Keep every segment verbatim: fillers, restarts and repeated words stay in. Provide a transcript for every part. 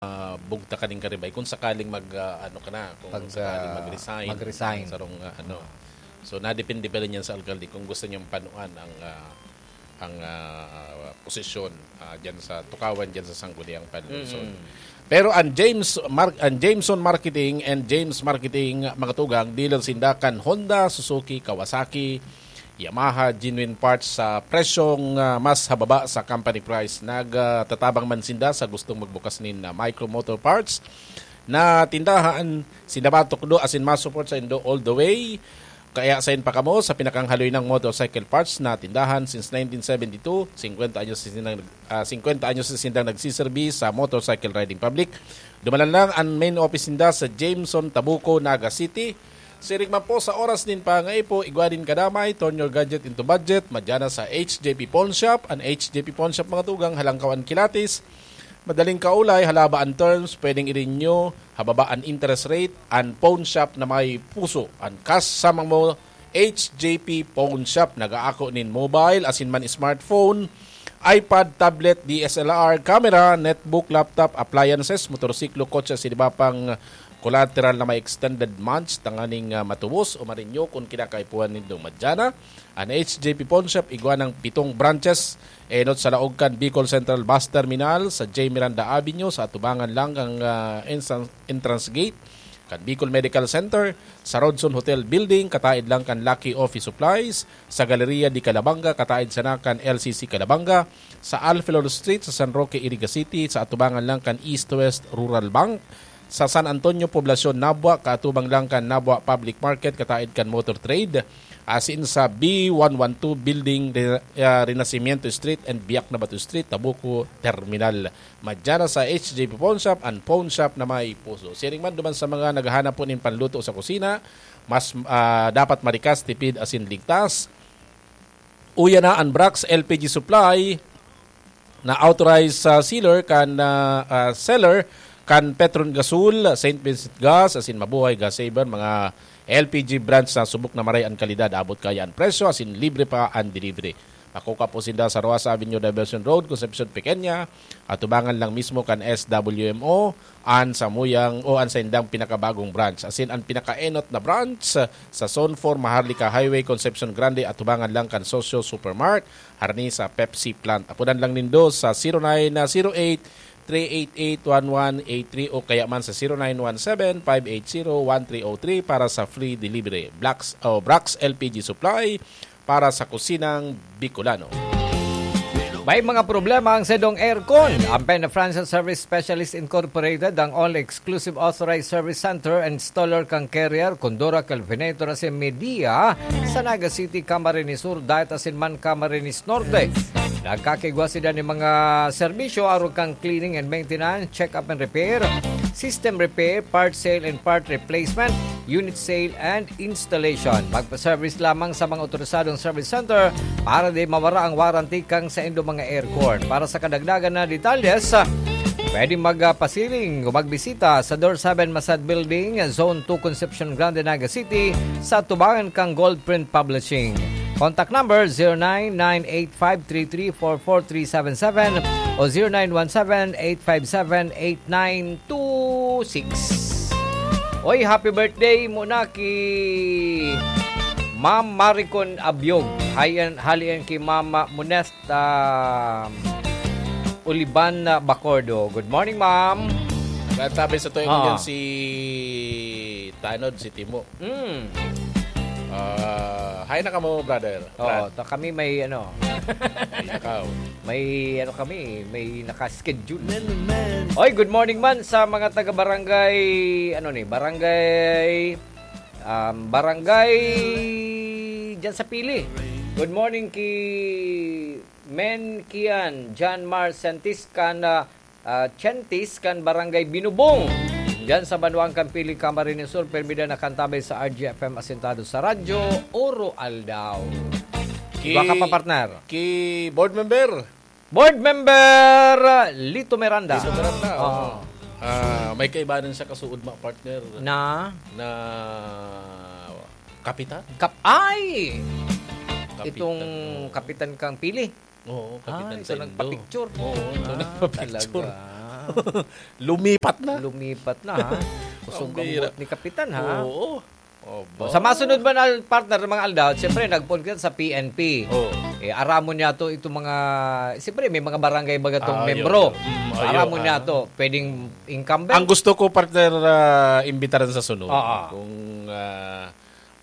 ah, bugta kaning karibay kung sakaling mag, ah, ano ka na, kung Pag, sakaling ah, mag-resign. Mag-resign. Sarong, ah, ano. So, nadepende pa rin yan sa alkalde kung gusto niyang panuan ang, ah, ang, ah, posisyon, ah, dyan sa Tukawan, dyan sa Sangguniang Panlungsod. Mm-mm. Pero ang James Mar-, ang Jameson Marketing and James Marketing, mga tugang, dealer sinda kan Honda, Suzuki, Kawasaki, Yamaha, genuine parts sa presyong, ah, mas hababa sa company price. Nagtatabang man sinda sa gustong magbukas nin, ah, Micro Motor Parts na tindahan. Sinda matukdo asin ma-support saindo all the way. Kaya sain pa kamo sa pinakahaloy nang motorcycle parts na tindahan since nineteen seventy-two. Singkwenta anyos na sindang, ah, singkwenta anyos na sindang nagsiserbi sa motorcycle riding public. Dumalan lang ang main office ninda sa Jameson, Tabuco, Naga City. Siring man po sa oras nin pangaipo, igwa nin kadamay, turn your gadget into budget, madya na sa H J P Pawn Shop. An H J P Pawn Shop, mga tugang, halangkaw an kilatis, madaling kaulay, halaba an terms, pwedeng i-renew, hababa an interest rate, an pawn shop na may puso, an kas sa mga mo, H J P Pawn Shop, nag-aako nin mobile, asin man smartphone, iPad, tablet, D S L R, camera, netbook, laptop, appliances, motorsiklo, kotse, asin iba pang collateral na may extended months tanganing, ah, matubos o ma-renew kun kinakaipuhan nindo. Madya na an H J P Pawn Shop, igwa nang pitong branches, enot sa laog kan Bicol Central Bus Terminal, sa J Miranda Avenue, sa atubangan lang kan, ah, entrance, entrance gate kan Bicol Medical Center, sa Rodson Hotel Building, kataid lang kan Lucky Office Supplies, sa Galeria de Calabanga, kataid sana kan L C C Calabanga, sa Alfilor Street, sa San Roque, Iriga City, sa atubangan lang kan East West Rural Bank, sa San Antonio, Poblacion, Nabua, kaatubang lang kan Nabua Public Market, kataid kan Motor Trade, asin sa B one one two Building, Re-, ah, Renacimiento Street and Biak na Bato Street, Tabuco Terminal. Madya na sa H J P Pawn Shop, an pawn shop na may puso. Siring man duman sa mga naghahanap po nin panluto sa kusina, mas, ah, dapat marikas, tipid, asin ligtas. Uya na an Brax L P G Supply na authorized sa sealer kan, ah, ah, seller kan Petron Gasol, Saint Vincent Gas, asin Mabuhay Gas Saver, mga L P G brands na subok na maray an kalidad, abot kaya an presyo, asin libre pa an delivery. Makukuha po sinda sa Rojas Avenue, Diversion Road, Concepcion Pequeña, atubangan lang mismo kan S W M O, an samuyang o an saindang pinakabagong branch. Asin an pinakaenot na branch sa Zone four Maharlika Highway, Concepcion Grande, atubangan lang kan Socio Supermart, harani sa Pepsi plant. Apodan lang nindo sa zero nine zero eight, three eight eight, one one eight three o kaya man sa zero nine one seven, five eight zero, one three oh three para sa free delivery. Blacks, o Brax L P G Supply para sa kusinang Bicolano. May mga problema ang sedong aircon. Ang Pena Francis Service Specialist Incorporated, ang only exclusive authorized service center and installer kan Carrier, Condura, Kelvinator, asin Media sa Naga City, Camarines Sur, Daet asin man Camarines Norte. Nagkakigwa sila nin mga serbisyo arog kan cleaning and maintenance, check-up and repair, system repair, part sale and part replacement, unit sale and installation. Magpa-service lamang sa mga otorisadong service center para di mawara ang warranty kan saindong mga aircon. Para sa kadagdagan na detalyes, pwede magpasiring o magbisita sa Door seven Masad Building, Zone two, Concepcion Grande, Naga City, sa atubangan kan Gold Print Publishing. Contact number, zero nine nine eight five three three four four three seven seven o zero nine one seven eight five seven eight nine two six. Oy, happy birthday muna ki Ma'am Maricon Abiog. Hayan, halian ki Mama Monesta Uliban na Bacordo. Good morning, ma'am. Nagtabi sa tuwing Oo. Yan si Tanod, si Timo. Mm. Ah, hi na kamo, brother. Oo, Brad. Ta kami may ano. May nakaw. May ano kami, may naka-schedule. Oy, good morning man sa mga taga barangay, ano ni, barangay, um, barangay dyan sa Pili. Good morning ki Men Kian, John Mar Santis, kan, ah, ah, Chantis kan Barangay Binubong. Diyan sa Banwaan kan Pili, Camarines Sur, permi na nakantabay sa R G F M asentado sa radyo, Oro Aldaw. Ki Iba ka pa, partner. Ki board member. Board member, Lito Miranda. Lito Miranda, Oo. oo. Ah, may kaibanan siya kasuod, ma, partner. Na? Na kapitan. Kap-, ay! Kapitan, Itong oo. kapitan kang Pili. Oo, kapitan Ay, sa ito Indo. nagpa-picture. Oo, ito Ah, nagpa-picture. talaga. Lumipat na. Lumipat na, ha? Kusog ang buot ni Kapitan, ha? Oo. Oh, sa masunod man, al-, partner, mga aldaw, siyempre, nagpoon kita sa P N P. Oo. Eh, aramon niya to, itong mga, siyempre, may mga barangay baga tong Ah, yun, membro. Yun. Mm, ayun, Aramon niya ah. to. Pwedeng incumbent. Ang gusto ko, partner, ah, imbitaran sa sunod. Oo. Kung, ah,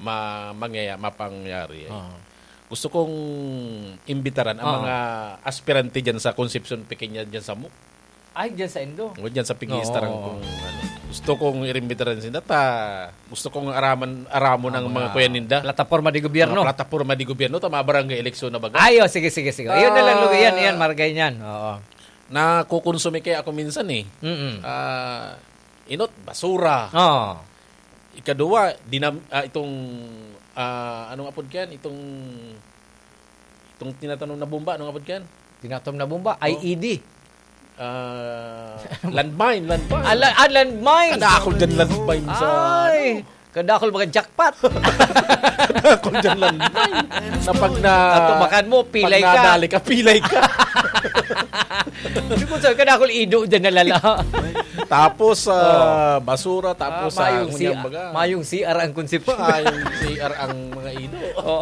ma-, mangyaya-, mapangyari, eh. Oo. Gusto kong imbitaran ang Oo. mga aspirante dyan sa Concepcion Pequeña, dyan sa MOOC. Ay, dyan sa Indo. O, dyan sa Pigistar ang Oo. kung ano. Gusto kong irimbitar rin sinda ta. Gusto kong araman, aramon ang Ang mga mga kuya ninda. plataporma de gobyerno. Mga plataporma de gobyerno, ta mga barangay eleksyon na baga. Ay, oh, sige, sige, sige. Yun na lang, Ah. Lugi. Yan, yan, margay niyan. Oo. Nakukonsume kaya ako minsan eh. Mm-mm. Ah, inot, basura. Oo. Ikaduwa, dinam-, ah, itong, ah, anong apod kaya? Itong, itong tinatanom na bomba, anong apod kaya? Tinatanom na bomba, Oh. I E D. Ah, landmine, landmine. Ah, la-, ah, landmine. Kadakol dyan landmine sa, Ay, ano? kadakol mga jackpot. Kadakol dyan landmine. Na pag na, Natumakan mo, pag pilay ka. nadali ka, pilay ka. Hindi ko sabi, kadakol ido dyan nalala. Tapos, ah, Oh. basura, tapos, Ah, ah, mayong ngunyan si-, baga. mayong C R ang konsepsyon. Mayong C R ang mga ido. Oh.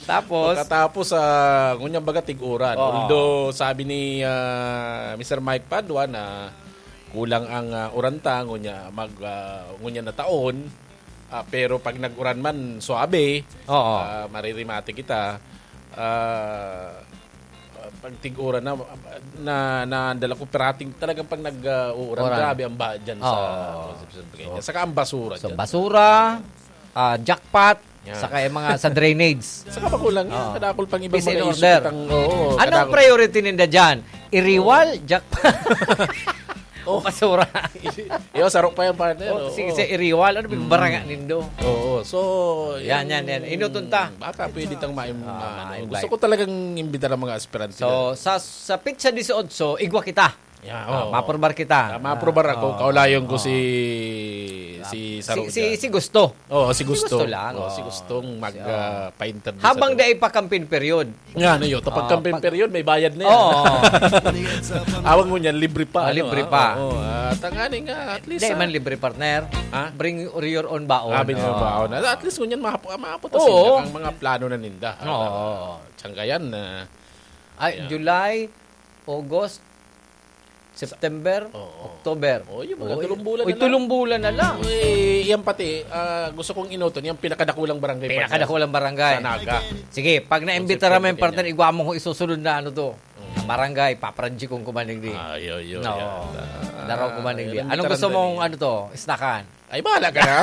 Tapos? Pagkatapos, ah, ngunyan baga tig-uran. Oo. Although, sabi ni, ah, Mister Mike Padua na kulang ang, ah, uran ta, ngunya mag, ah, ngunyan na taon. Ah, pero pag nag-uran man, suabe, Oo. ah, maririmate kita. Ah, pag tig-uran na, na, nadala ko, parating talagang pag nag, ah, uuran, Uran. grabe ang baha dyan sa Oo. Concepcion Pequeña. So, Saka ang basura so, dyan. basura, ah, jackpot, Yan. saka yung mga sa drainage. Saka pa kulang yan. Oo. Kadakol pang ibang Peace and mga issue order. kitang, oo, Anong kadakol. priority ninda dyan? Iriwal, jackpot? Oh. O basura? Yo, sarok pa yan, partner. Oh, Oo. sige, sa iriwal. Ano ba yung Mm. baranga nindo? Oo. So, Yan, yan, yan, yan. Inutong ta. Baka pwede tang maim-, Ah, ano, ma-invite. gusto ko talagang imbita ng mga aspirante So, na. sa, sa petsa dieciocho, igwa kita. Yeah, Ah, oo. maprobar kita. Ah, maprobar ako. Ah, Kaulayon ko oo. si, Ah, si si, Saro si, dyan. si Gusto. Oo, si Si Gusto. Gusto lang, Oo, si oo. Gustong mag, Si, oo. ah, pa-interview Habang sa dai pa campaign period. Nga, ano yun? Kapag Ah, campaign pag period, may bayad na yan. Oo. Awang mo niyan, libre pa, Ah, ano, libre ah? pa. Oo, ah, tanganing, ah, at least, Hindi ah. man libre, partner. Ha? Bring your own baon. Ah, bring your Oo. baon. At least, ngunyan, mahap-, mahapot na Oo. sila ang mga plano na ninda. Oo. Ah, tiyanggayan na. Ay, Ayan. July, August, September, Oo. October. Oh, yung mga Oy, tulong bulan oy, na lang. tulong bulan na lang. Uy, yan pati, ah, gusto kong inuton, yung pinakadakulang barangay, partner. Pinakadakulang barangay. Sa Naga. Sige, pag naimbita Concepcion namin, Pequeña. partner, igwa mo kung isusunod na ano to. Mm. Barangay, paparadji kong kumaning di. Ah, yo, yo, No. yan. Ah, Daraw kumaning di. yan, Anong gusto taranta mong niya. ano to? Snakan? Ay, bahala ka na.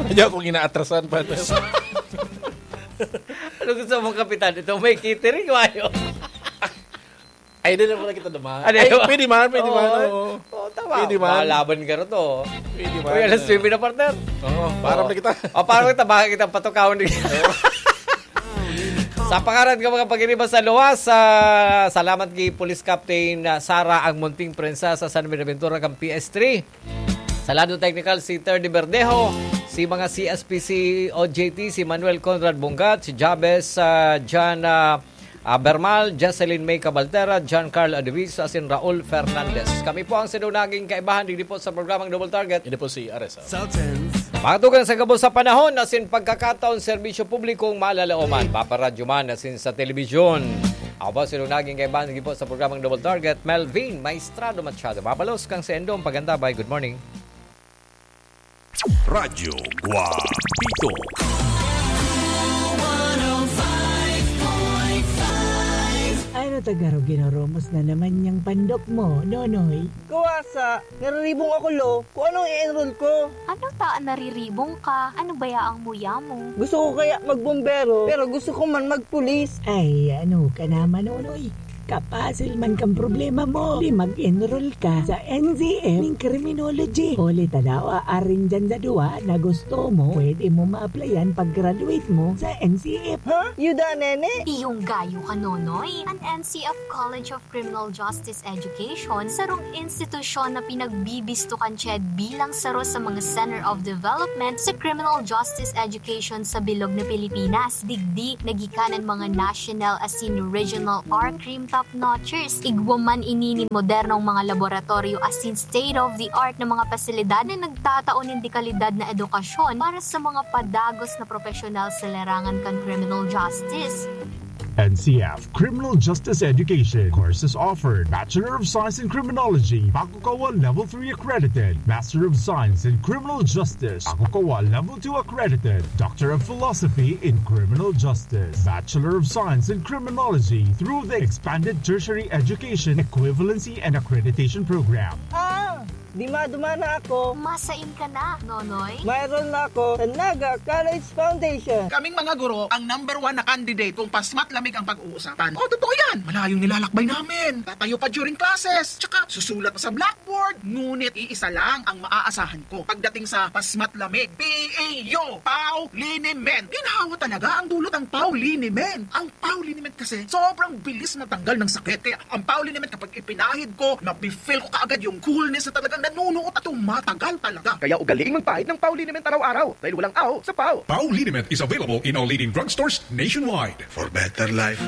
Ayaw akong inaatrasan, partner. Anong gusto mong kapitan? Ito may catering, mayo. Ay, di na muna kita dumaan. Ano Ay, yun? pwede man, pwede Oo, man, eh. oo. Oo, tama. Pwede man. Malaban ka rin to. Pwede man. Uy, alas nuebe na, partner. Oo, para Oo. na kita. O, para kita, baka kita patukawon din. Oo. Sa pangaran ng mga pagiriba sa luwas, ah, salamat kay Police Captain, ah, Sara ang Munting Prinsesa San Buenaventura kan P S three. Sa lado technical, si Terdy Verdejo, si mga C S P C O J T, si Manuel Conrad Bungat, si Jabez, ah, Jan, ah, ah, Bermal, Jocelyn May Cabaltera, John Carl Adviso, asin Raul Fernandez. Kami po ang sinunaging kaibahan digdi po sa programang Double Target. Ini po si Ares. Sultans. Mga tugang sa gabos sa panahon, asin pagkakataon, serbisyo publikong malalaoman, paparadyo man, asin sa telebisyon. Ako po, sinunaging kaibahan digdi po sa programang Double Target, Melvin Maestrado Machado. Mabalos kang sa Endong Pagandabay. Good morning. Radyo Guapito. Ano ta garo ginurumos na naman niyang pandok mo, Nonoy? Kuwasa, nariribong ako, lo. Kung anong i-enroll ko. Ano ta an nariribong ka? Ano baya ang muya mo? Gusto ko kaya magbombero, pero gusto ko man magpulis. Ay, ano ka naman, Nonoy? Kapasil man kang problema mo. Di mag-enroll ka sa N C F ning criminology. Huli ta daw, arin dyan sa duwa na gusto mo, pwede mo ma-applyan pag-graduate mo sa N C F. Ha? Yuda, nene? Iyong gayo ka, Nonoy. An N C F College of Criminal Justice Education, sarong institusyon na pinagbibisto kan CHED bilang saro sa mga Center of Development sa Criminal Justice Education sa bilog na Pilipinas. Digdi, naggikan an mga national asin regional R-Crim Top-notchers, igwa man ini nin modernong mga laboratoryo asin state-of-the-art na mga pasilidad na nagtatao nin dekalidad na edukasyon para sa mga padagos na profesional sa larangan kan criminal justice. N C F, Criminal Justice Education. Courses offered: Bachelor of Science in Criminology, Bakukawa Level three accredited; Master of Science in Criminal Justice, Bakukawa Level two accredited; Doctor of Philosophy in Criminal Justice, Bachelor of Science in Criminology through the Expanded Tertiary Education Equivalency and Accreditation Program. Ah! Dima-duma na ako. Masain ka na, Nonoy? Mayroon na ako sa Naga College Foundation. Kaming mga guro ang number one na candidate kung pasmat lamig ang pag-uusapan. Oh, totoo yan. Malayong nilalakbay namin. Tatayo pa during classes. Tsaka susulat pa sa blackboard. Ngunit iisa lang ang maaasahan ko. Pagdating sa pasmat lamig, P A U, Pau Liniment. Ginhawa talaga ang dulot ang Pau Liniment. Ang Pau Liniment kasi sobrang bilis matanggal ng sakit. Kaya ang Pau Liniment kapag ipinahid ko, mafe-feel ko kaagad yung coolness na talagang nanunuot at tumatagal talaga. Kaya ugaliing magpahid ng Pau Liniment araw-araw dahil walang aho sa Pau. Pau Liniment is available in all leading drugstores nationwide. For better life.